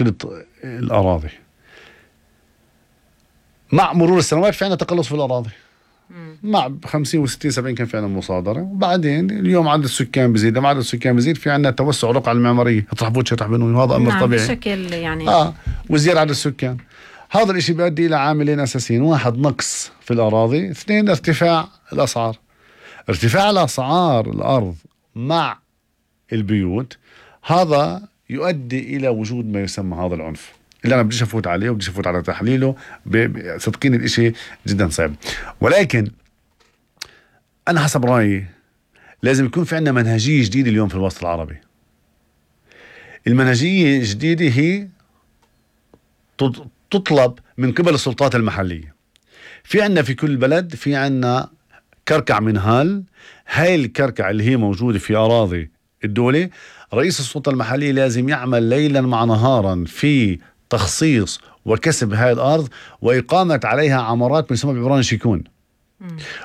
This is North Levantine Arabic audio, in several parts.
الأراضي. مع مرور السنوات في عنا تقلص في الأراضي، مع 50 و60 70 كان في عنا مصادرة، وبعدين اليوم عدد السكان بزيد، لما عدد السكان بزيد في عنا توسع رقعة المعمارية، يطرح فوتش يطرح بنون، وهذا أمر طبيعي بشكل يعني وزيادة عدد السكان. هذا الاشي بيؤدي إلى عاملين أساسيين: واحد، نقص في الأراضي، اثنين، ارتفاع الأسعار. ارتفاع الأسعار الأرض مع البيوت هذا يؤدي إلى وجود ما يسمى هذا العنف، اللي أنا بديش أفوت عليه وبديش أفوت على تحليله. صدقيني الإشي جدا صعب، ولكن أنا حسب رأيي لازم يكون في عندنا منهجية جديدة اليوم في الوسط العربي. المنهجية الجديدة هي تطلب من قبل السلطات المحلية. في عندنا في كل بلد في عندنا كركع منهال، هاي الكركع اللي هي موجودة في أراضي الدولة، رئيس السلطة المحلية لازم يعمل ليلا مع نهارا في تخصيص وكسب هاي الأرض وإقامة عليها عمارات بنسمى بعبارة شيكون،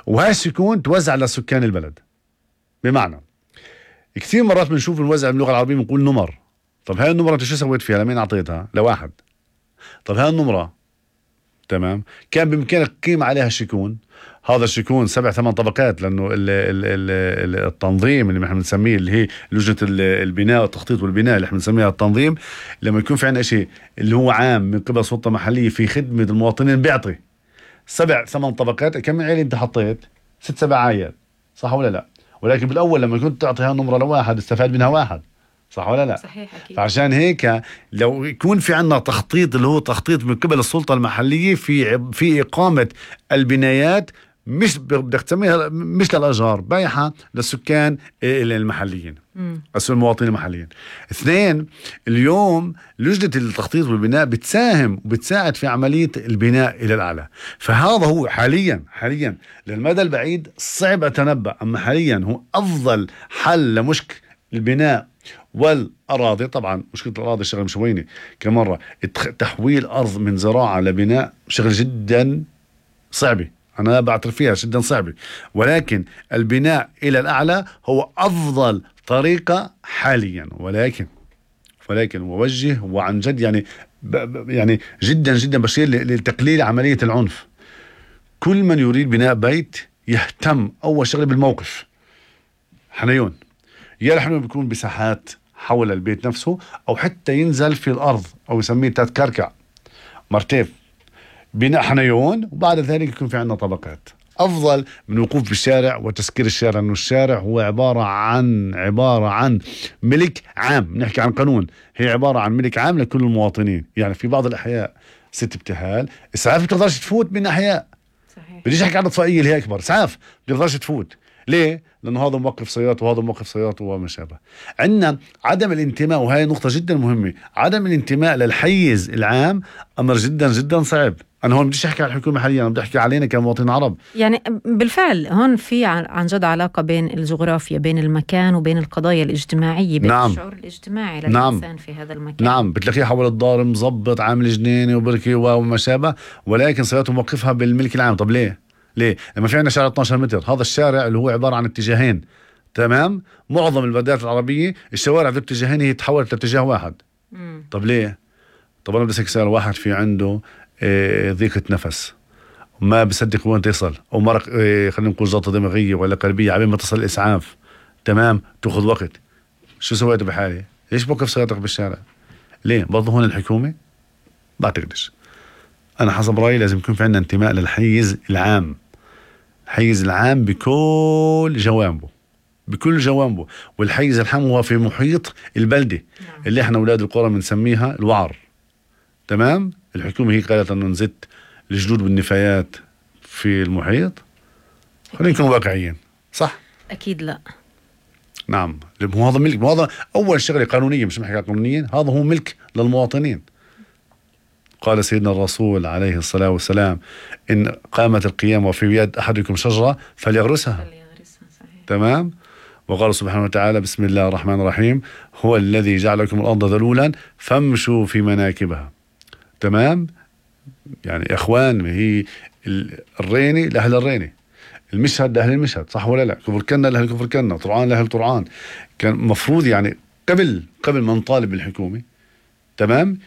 وهاي الشيكون توزع لسكان البلد. بمعنى كثير مرات بنشوف نوزع باللغة العربية بنقول نمر. طب هاي النمرة انت شو سويت فيها؟ لمين أعطيتها؟ لواحد. طب هاي النمرة تمام كان بإمكانك تقيم عليها شيكون. هذا الشيكون 7-8 طبقات، لأنه التنظيم اللي احنا بنسميه اللي هي لجنة البناء والتخطيط والبناء اللي احنا بنسميها التنظيم، لما يكون في عنا شيء اللي هو عام من قبل سلطة محلية في خدمة المواطنين بيعطي 7-8 طبقات. كم عيلة انت حطيت؟ 6-7 عائلات، صح ولا لا؟ ولكن بالأول لما كنت تعطيها نمرة لواحد استفاد منها واحد، صح ولا لا؟ صحيح أكيد. فعشان هيك لو يكون في عنا تخطيط اللي هو تخطيط من قبل السلطة المحلية في إقامة البنايات، مش بدك تسميها مش للأجار، بايحة للسكان المحليين، المواطنين المحليين. اثنين، اليوم لجنة التخطيط والبناء بتساهم وبتساعد في عملية البناء إلى الأعلى. فهذا هو حاليا للمدى البعيد صعب أتنبأ، أما حاليا هو أفضل حل لمشكلة البناء والأراضي. طبعا مشكلة الأراضي شغل مش ويني كمرة، تحويل أرض من زراعة لبناء شغل جدا صعبة، أنا بعترف فيها جدا صعبة، ولكن البناء إلى الأعلى هو أفضل طريقة حاليا. ولكن ووجه وعن جد يعني جدا بشير لتقليل عملية العنف. كل من يريد بناء بيت يهتم أول شغله بالموقف. حنيون يا الحنيون بيكون بساحات حول البيت نفسه، أو حتى ينزل في الأرض أو يسميه تتكركع مرتف بناء حنيون، وبعد ذلك يكون في عندنا طبقات. أفضل من وقوف بالشارع وتسكير الشارع، أنه الشارع هو عبارة عن ملك عام. نحكي عن قانون، هي عبارة عن ملك عام لكل المواطنين. يعني في بعض الأحياء ست ابتهال إسعاف بتقدرش تفوت من أحياء، صحيح. بديش أحكي عن إطفائية اللي هي أكبر، إسعاف بتقدرش تفوت. ليه؟ لأنه هذا موقف سيارات وهذا موقف سيارات وما شابه. عندنا عدم الانتماء، وهي نقطة جدا مهمة. عدم الانتماء للحيز العام أمر جدا صعب. أنا هون بديش أحكي على الحكومة حاليا، أنا بدي أحكي علينا كمواطنين عرب. يعني بالفعل هون في عن جد علاقة بين الجغرافيا، بين المكان وبين القضايا الاجتماعية، بين الشعور الاجتماعي للإنسان في هذا المكان. نعم، بتلاقيه حول الدار مزبط عامل جنينة وبركي وما شابه، ولكن سيارته موقفها بالملك العام. طب ليه؟ لما في عندنا شارع 12 متر، هذا الشارع اللي هو عبارة عن اتجاهين، تمام؟ معظم البلدات العربية الشوارع ذو اتجاهين هي تحولت لاتجاه واحد. طب ليه؟ طب أنا بدي أسألك سؤال. واحد في عنده ضيقة نفس ما بصدق وين تصل، أو مرق خلينا نقول جلطة دماغية ولا قلبية، عبين ما تصل الإسعاف، تمام؟ تأخذ وقت. شو سويت بحالي؟ ليش بوقف سيارتك بالشارع؟ ليه؟ برضه هون الحكومة؟ بعتقدش. أنا حسب رأيي لازم يكون في عندنا انتماء للحيز العام، الحيز العام بكل جوانبه. والحيز العام هو في محيط البلدة اللي احنا أولاد القرى بنسميها الوعر، تمام؟ الحكومة هي قالت أنه نزت الجدود والنفايات في المحيط. خلينا نكون واقعيين، صح؟ أكيد لا. نعم، هذا ملك، هذا أول شغلة قانونية، مش محكي قانونيا، هذا هو ملك للمواطنين. قال سيدنا الرسول عليه الصلاة والسلام: إن قامت القيامة وفي يد أحدكم شجرة فليغرسها. تمام. وقال سبحانه وتعالى: بسم الله الرحمن الرحيم: هو الذي جعل لكم الأرض ذلولا فامشوا في مناكبها. تمام. يعني إخوان، هي الريني لأهل الريني، المشهد لأهل المشهد، صح ولا لا؟ كفر كنا لأهل كفر كنا، طرعان لأهل طرعان. كان مفروض يعني قبل ما نطالب بالحكومة تمام